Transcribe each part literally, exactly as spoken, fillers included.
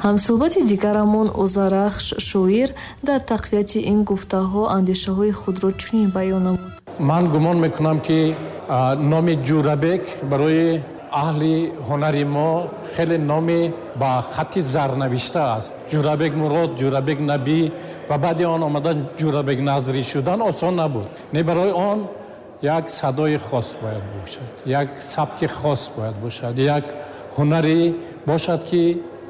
Ҳамсӯҳбати дигарамон Озарахш шоир дар тақвияти ин гуфтаҳо андешаҳои худро чунин баён намуд. Ман гумон мекунам, ки номи Ҷӯрабек барои аҳли ҳунари мо хеле номи ба хати зар навишта аст. Ҷӯрабек Мурод, Ҷӯрабек Набӣ ва баъди он омадан Ҷӯрабек Назрӣ шудан осон набуд. Не, барои он як садои хос бояд бошад, як сабки хос бояд бошад, як ҳунаре бошад, ки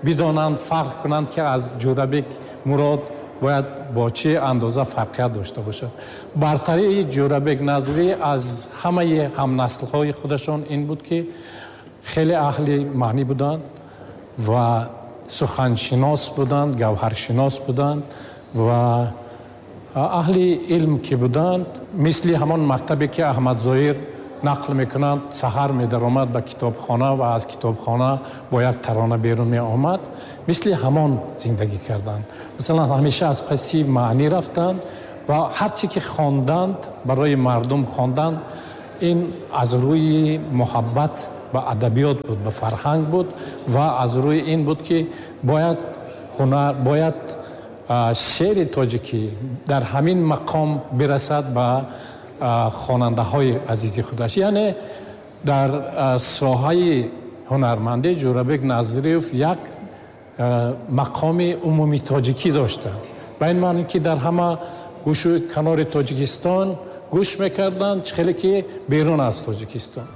бидонанд, фарқ кунанд, ки аз Ҷӯрабек Мурод бояд бо чӣ андоза фарқият дошта бошад. Бартарии Ҷӯрабек Назрӣ аз ҳамаи ҳамнаслҳои худашон ин буд, ки хеле аҳли маънӣ буданд ва суханшинос буданд, гавҳаршинос буданд ва аҳли илм ки буданд, мисли ҳамон мактабе ки Аҳмад Зоҳир нақл мекунанд, саҳар медаромад ба китобхона ва аз китобхона бо як тарона берун меомад, мисли ҳамон зиндагӣ карданд. Масалан, ҳамеша аз паси маънӣ рафтанд ва ҳар чӣ ки хонданд, барои мардум хонданд, ин аз рӯи муҳаббат ба адабиёт буд, ба фарҳанг буд ва аз рӯи ин буд, ки бояд ҳунар, бояд шеъри тоҷикӣ дар ҳамин мақом бирасад ба хонандаҳои азизи худаш. Яъне дар соҳаи ҳунармандӣ Ҷӯрабек Назриев як мақоми умумии тоҷикӣ дошта, ба ин маъне ки дар ҳама гӯшу канори Тоҷикистон гӯш мекарданд, чӣ хеле ки берун аз Тоҷикистон.